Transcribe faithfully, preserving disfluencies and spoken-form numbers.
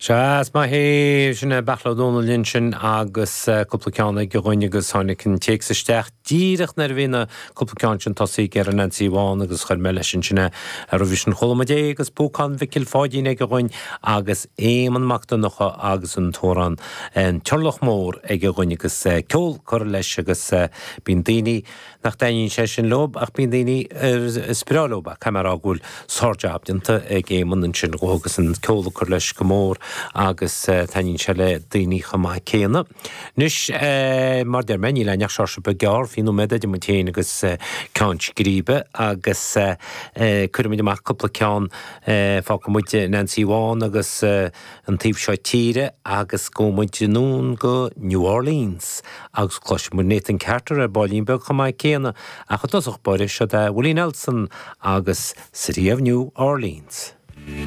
Sea, is maith é sin Beartla Ó Domhnaill ansin agus cúpla ceann aige dhúinn agus tháinig an téacs isteach díreach nuair a bhí na cúpla ceann sin tosaithe ar an Nancy Bhán agus chuir mé leis ansin é roimhe sin chuala muid é agus Púcán Mhicil Pháidín aige dhúinn agus Éamonn Mac Donncha agus an t-amhrán an Turlach Mór aige dhúinn agus ceol curtha leis agus bíonn daoine nach dtaitníonn sé sin leo ach bíonn daoine is breá leo caithfidh mé a rá go bhfuil sár-jab déanta ag Éamonn ansin agus an ceol ag cur leis go mór agus taitníonn sé le daoine chomh maith céanna. Anois mar deir mé níl aon ach seoirse beag gearr fiche nóiméad idir muid féin agus ceann scríbe agus cuirfimid amach cúpla ceann fágfaidh muid Nancy Bhán agus an taobh seo tíre agus gabhfaidh muid anonn go New Orleans agus cloisfidh muid Nathan Carter ar baillín beag chomh maith céanna ach i dtosach báire seo é Willie Nelson agus City of New Orleans.